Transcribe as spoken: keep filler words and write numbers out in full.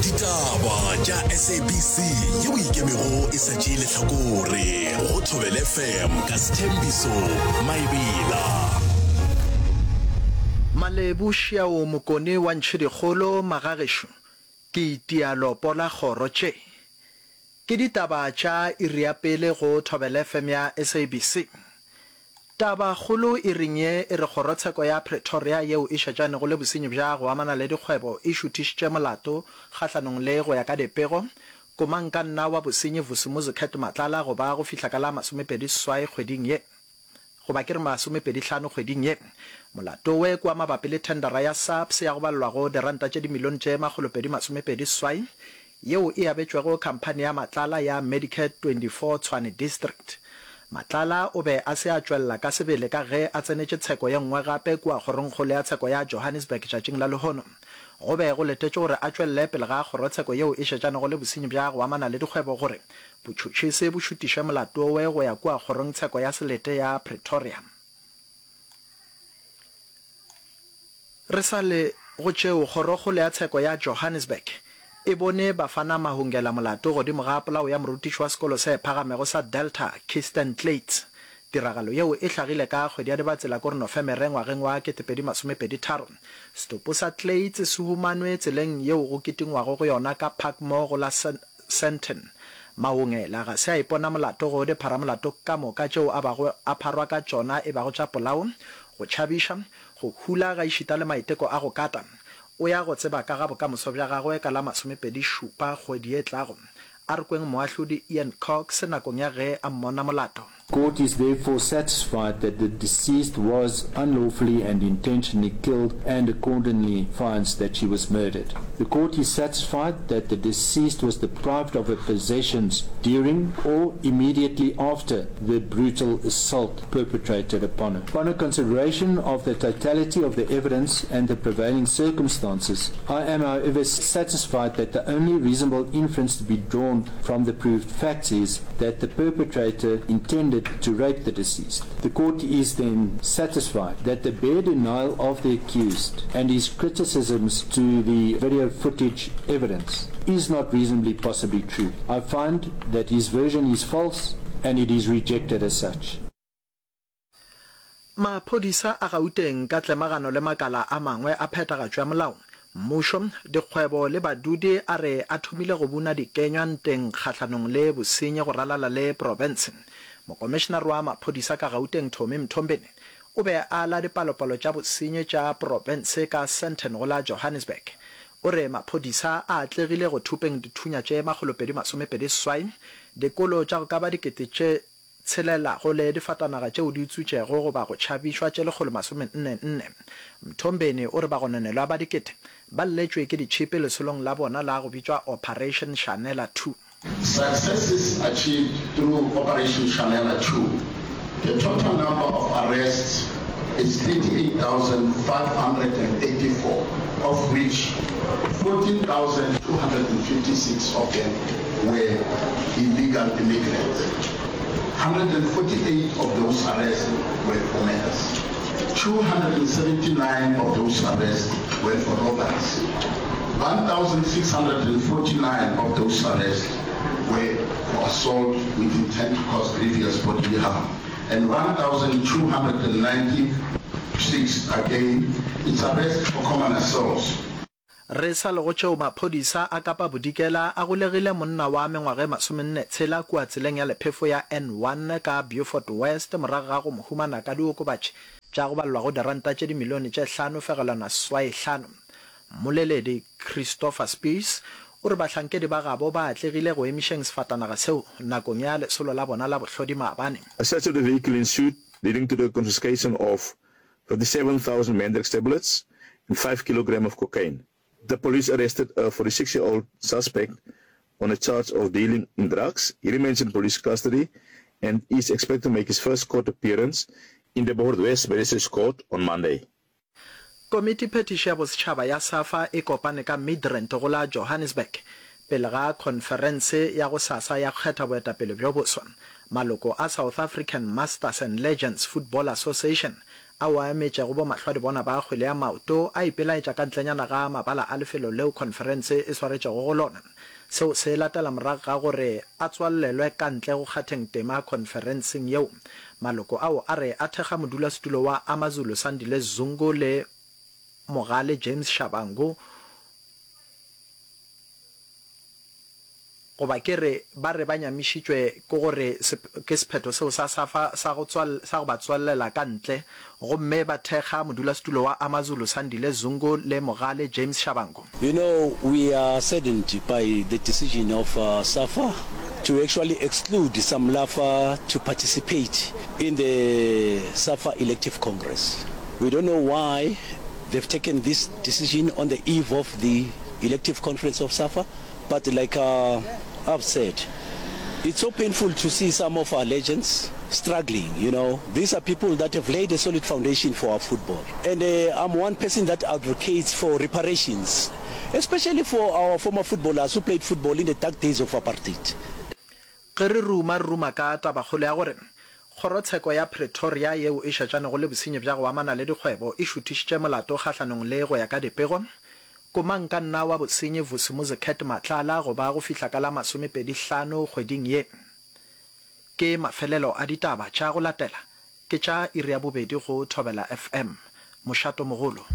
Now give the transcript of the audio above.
Ditaba tša S A B C yeo ikemego e sa tšee lehlakore go Thobela F M ka Sethembiso Maebela. Malebu Šiao Mokone wa Ntšhidikgolo Magagešo ke itia lopo la kgoro tše. Ke ditaba tša iri ya pele go Thobela F M ya S A B C. Tabakgolo iring ye e re kgorotsheko ya Pretoria yeo e šetšanego le bosenyi bja go amana le dikgwebo e šuthišitše molato kgahlanong le, go ya ka dipego, komangkanna wa bosenyi Vusimuzi Cat Matlala go ba go fihla ka la masomepedi seswai kgweding ye, goba ke re masomepedi hlano kgweding ye. Molato we ke wa mabapi le thendara ya SAPS ya go balelwago diranta tše dimilione tše makgolopedi masomepedi seswai yeo e abetšwego khamphani ya Matlala ya Medicare twenty-four Tshwane District. Matlala o be a se a tšwelela ka sebele ka ge a tsenetše tsheko ye nngwe gape kua Kgorongkgolo ya Tsheko ya Johannesburg tšatšing la lehono. Go be go letetšwe gore a tšwelele pele ga kgorotsheko yeo e šetšanego le bosenyi bja go amana le dikgwebo gore botšhotšhisi bo šutiše molato we go ya kua Kgorongtsheko ya Selete ya Pretoria. Re sa le go tšeo, Kgorokgolo ya Tsheko ya Johannesburg e bone Bafana Mahungela molato godimo ga polao ya morutiši wa sekolo se phagamego sa Delta, Kirsten Kluyts. Tiragalo yeo e hlagile ka kgwedi ya Dibatsela kore Nofemere ngwageng wa ketepedi masomepedi tharo. Setopo sa Kluyts se humanwe tseleng yeo go kitingwago go yona ka Parkmore go la Sandton. Mahungela ga se a ipona molato go dipharamolato ka moka tšeo a bago a pharwa ka tšona e bago tša polao, go tšhabiša, go hula gaešita le maiteko a go kata. O ya go tseba ka ga bokamoso bja gagwe ka la masomepedi šupa kgwedi e tlago. A re kweng moahlodi Ian Cox nakong ya ge a mmona molato. Court is therefore satisfied that the deceased was unlawfully and intentionally killed and accordingly finds that she was murdered. The court is satisfied that the deceased was deprived of her possessions during or immediately after the brutal assault perpetrated upon her. Upon a consideration of the totality of the evidence and the prevailing circumstances, I am however satisfied that the only reasonable inference to be drawn from the proved facts is that the perpetrator intended to rape the deceased. The court is then satisfied that the bare denial of the accused and his criticisms to the video footage evidence is not reasonably possibly true. I find that his version is false and it is rejected as such. Maphodisa a Gauteng ka tlemagano le makala a mangwe a phethagatšo ya molao, mmušo, dikgwebo le badudi a re a thomile go buna dikenywa nteng kgahlanong le bosenyi go ralala le profense. Mokomišenare wa maphodisa ka Gauteng Tommy Mthombeni o be a ala dipalopalo tša bosenyi tša profense ka Sandton go la Johannesburg. O re maphodisa a atlegile go thupeng dithunya tše makgolopedi masomepedi seswai, dikolo tša go ka ba dikete tše tshelelago le difatanaga tšeo di utswitšego goba go tšhabišwa tše lekgolo masome nne nne. Mthombeni o re bagononelwa ba dikete ba lletšwe ke ditšhipi lesolong la bona la go bitšwa Operation Shanela two. Successes achieved through Operation Shanela two. The total number of arrests is thirty-eight thousand five hundred eighty-four, of which fourteen thousand two hundred fifty-six of them were illegal immigrants. one hundred forty-eight of those arrests were for murders. two hundred seventy-nine of those arrests were for robberies. one thousand six hundred forty-nine of those arrests were for assault with intent to cause grievous bodily harm. And one thousand two hundred ninety-six again, it's arrest for common assaults. Re sa le go tšeo, maphodisa a Kapa Bodikela a golegile monna wa mengwaga e masomenne tshela kua tseleng ya lephefo ya N one ka Beaufort West morago ga go mo humana ka diokobatši tša go balelwa go diranta tše dimilione tše hlano fegelwana seswai hlano. Mmoleledi Christopher Spies o re bahlankedi ba gabo ba atlegile go emišeng sefatanaga seo nakong ya lesolo la bona la bohlodi maabane. A search of the vehicle ensued, leading to the confiscation of fifty-seven thousand Mandrax tablets and five kilograms of cocaine. The police arrested a forty-six-year-old suspect on a charge of dealing in drugs. He remains in police custody and is expected to make his first court appearance in the Beaufort West Magistrates Court on Monday. Komiti Phethiši ya Bosetšhaba ya SAFA e kopane ka Midrand go la Johannesburg pele ga khonferense ya gosasa ya go kgetha boetapele bjo boswa. Maloko a South African Masters and Legends Football Association ao a emetšego bomahlwadibona ba kgwele ya maoto a ipelaetša ka ntlenyana ga mabala a lefelo leo khonferense e swaretšego go lona. Seo se latela morago ga gore a tswalelwe ka ntle go kgatheng tema khonferenseng yeo. Maloko ao a re a thekga modulasetulo wa AmaZulu Sandile Zungu le Mogale James Shabangu, Goba ke re, ba re ba nyamišitšwe ke gore ke sephetho seo sa SAFA sa go sa go ba tswallela ka ntle, gomme ba thekga modulasetulo wa AmaZulu Sandile Zungu le Mogale James Shabangu. You know, we are saddened by the decision of SAFA to actually exclude Samlafa to participate in the SAFA elective congress. We don't know why they've taken this decision on the eve of the elective conference of SAFA. But like uh, I've said, it's so painful to see some of our legends struggling, you know. These are people that have laid a solid foundation for our football. And uh, I'm one person that advocates for reparations, especially for our former footballers who played football in the dark days of apartheid. Ge re ruma, re ruma ka tabakgolo ya gore Kgorotsheko ya Pretoria yeo e šetšanego le bosenyi bja go amana le dikgwebo e šuthišitše molato kgahlanong le go ya ka dipego Komangkanna wa bosenyi Vusimuzi Cat Matlala go ba go fihla ka la masomepedi hlano kgweding ye. Ke mafelelo a ditaba tša go latela ke tša iri ya bobedi go Thobela FM. Mošato mogolo.